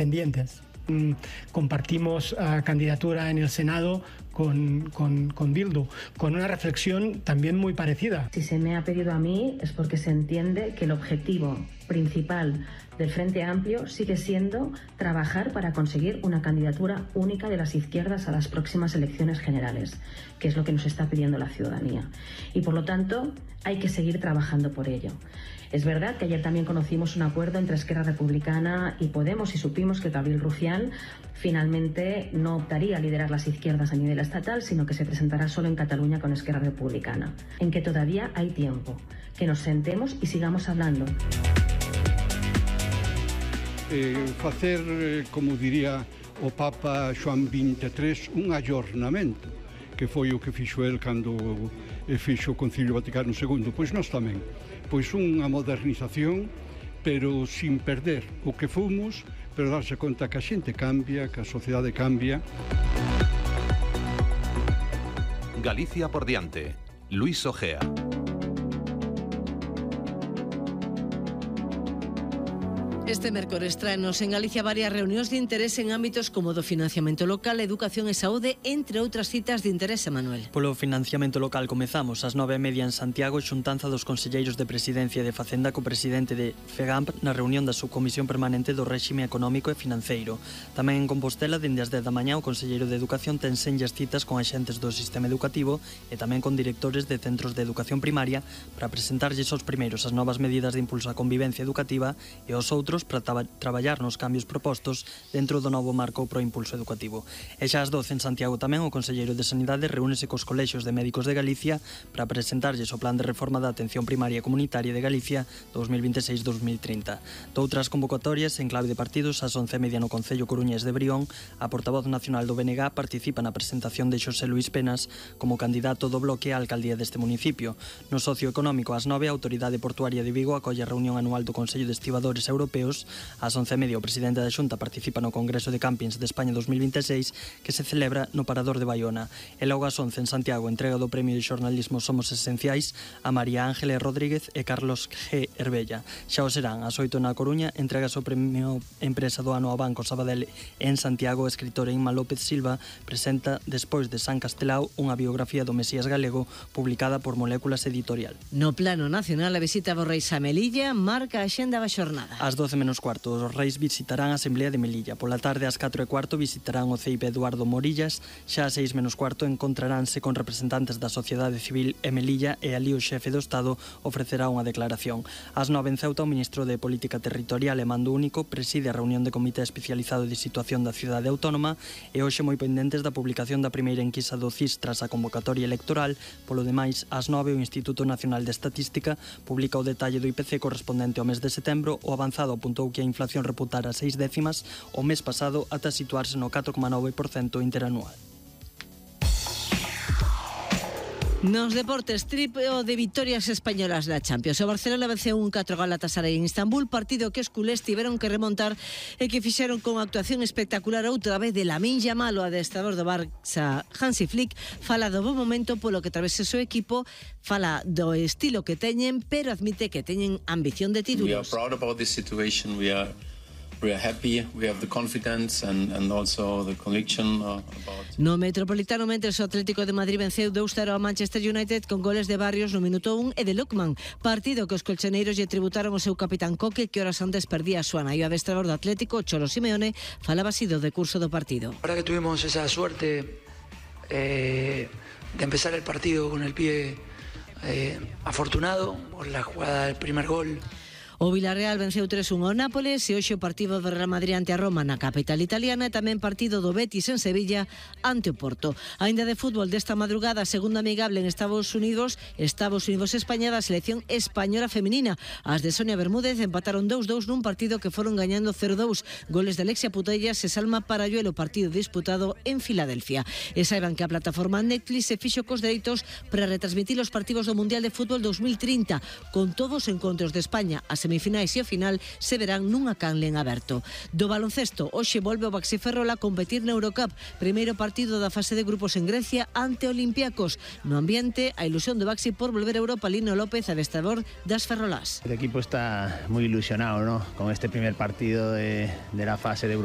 independientes. Compartimos candidatura en el Senado con Bildu, con una reflexión también muy parecida. Si se me ha pedido a mí es porque se entiende que el objetivo principal del Frente Amplio sigue siendo trabajar para conseguir una candidatura única de las izquierdas a las próximas elecciones generales, que es lo que nos está pidiendo la ciudadanía. Y por lo tanto hay que seguir trabajando por ello. Es verdad que ayer también conocimos un acuerdo entre Esquerra Republicana y Podemos y supimos que Gabriel Rufián finalmente no optaría a liderar las izquierdas a nivel estatal, sino que se presentará solo en Cataluña con Esquerra Republicana. En que todavía hay tiempo, que nos sentemos y sigamos hablando. Facer, como diría o Papa Xoán XXIII, un ayornamento, que foi o que fixo el cando fixo o Concilio Vaticano II. Pois nós tamén. Pois unha modernización, pero sin perder o que fomos, pero darse conta que a xente cambia, que a sociedade cambia. Galicia por diante. Luis Ojea. Este mércores traenos en Galicia varias reunións de interese en ámbitos como do financiamento local, educación e saúde, entre outras citas de interese, Manuel. Polo financiamento local comezamos ás 9:30 en Santiago, xuntanza dos conselleiros de Presidencia e de Facenda co presidente de FEGAMP na reunión da Subcomisión Permanente do Réxime Económico e Financeiro. Tamén en Compostela, dende as 10 da mañá, o conselleiro de Educación ten senllas citas con axentes do sistema educativo e tamén con directores de centros de educación primaria para presentarlles aos primeiros as novas medidas de impulso á convivencia educativa e aos outros para traballar nos cambios propostos dentro do novo marco pro impulso educativo. E xa ás 12 en Santiago tamén o conselleiro de Sanidade reúnese cos colexios de médicos de Galicia para presentarlles o plan de reforma da atención primaria comunitaria de Galicia 2026-2030. Doutras convocatorias en clave de partidos ás 11:30 no Concello Coruñés de Brión, a portavoz nacional do BNG participa na presentación de Xosé Luís Penas como candidato do bloque á alcaldía deste municipio. No socioeconómico ás 9 a Autoridade Portuaria de Vigo acolle a reunión anual do Consello de Estibadores Europeos. Ás 11:30 o presidente da Xunta participa no Congreso de Campings de España 2026 que se celebra no Parador de Baiona. E logo ás 11 en Santiago, entrega do Premio de Xornalismo Somos Esenciais a María Ángeles Rodríguez e Carlos G. Herbella. Xa o serán ás 8 na Coruña, entrega o Premio Empresa do Ano ao Banco Sabadell. En Santiago, a escritora Inma López Silva presenta Despois de San Castelao unha biografía do Mesías galego publicada por Moléculas Editorial. No plano nacional, a visita do Reis a Melilla marca a xenda da xornada. Ás 12 menos cuarto, os reis visitarán a Asamblea de Melilla. Pola tarde, ás 4:15, visitarán o CEIP Eduardo Morillas. Xa ás 6 menos cuarto, encontraránse con representantes da sociedade civil e Melilla e ali o xefe do Estado ofrecerá unha declaración. Ás 9 en Ceuta, o ministro de Política Territorial e Mando Único preside a reunión de Comité Especializado de Situación da Cidade Autónoma e hoxe moi pendentes da publicación da primeira enquisa do CIS tras a convocatoria electoral. Polo demais, ás 9, o Instituto Nacional de Estatística publica o detalle do IPC correspondente ao mes de setembro. O avanzado apuntou que a inflación reputara 6 décimas o mes pasado ata situarse no 4,9% interanual. Nos deportes, triplo de vitorias españolas da Champions. O Barcelona venceu 1-4 Galatasaray en Istambul, partido que os culés tiveron que remontar e que fixeron con actuación espectacular outra vez de Lamine Yamal, o adestrador do Barça Hansi Flick. Fala do bo momento polo que atravesa o seu equipo, fala do estilo que teñen, pero admite que teñen ambición de títulos. We are proud about this situation. We are happy, we have the confidence and also the conviction about... No Metropolitano, mentres o Atlético de Madrid venceu 2-0 ao Manchester United con goles de Barrios no minuto 1 e de Lookman, partido que os colchoneiros lle tributaron o seu capitán Coque, que horas antes perdía a súa nai. O adestrador do Atlético, Cholo Simeone, falaba así do decurso do partido. Ahora que tuvimos esa suerte de empezar el partido con el pie afortunado por la jugada del primer gol. O Villarreal venceu 3-1 ao Nápoles e hoxe o partido do Real Madrid ante a Roma na capital italiana e tamén partido do Betis en Sevilla ante o Porto. Ainda de fútbol desta madrugada, segunda amigable en Estados Unidos-España da selección española feminina. As de Sonia Bermúdez empataron 2-2 nun partido que foron gañando 0-2. Goles de Alexia Putellas e Salma Parayuelo, partido disputado en Filadelfia. E saiban que a plataforma Netflix se fixo cos dereitos para retransmitir os partidos do Mundial de Fútbol 2030 con todos os encontros de España. As semifinais e o final se verán nunha canle en aberto. Do baloncesto, hoxe volve o Baxi Ferrol a competir na Eurocup, primeiro partido da fase de grupos en Grecia ante Olympiacos. No ambiente, a ilusión do Baxi por volver a Europa, Lino López, adestrador das ferrolás. El equipo está muy ilusionado, ¿no?, con este primer partido de la fase de Eurocup.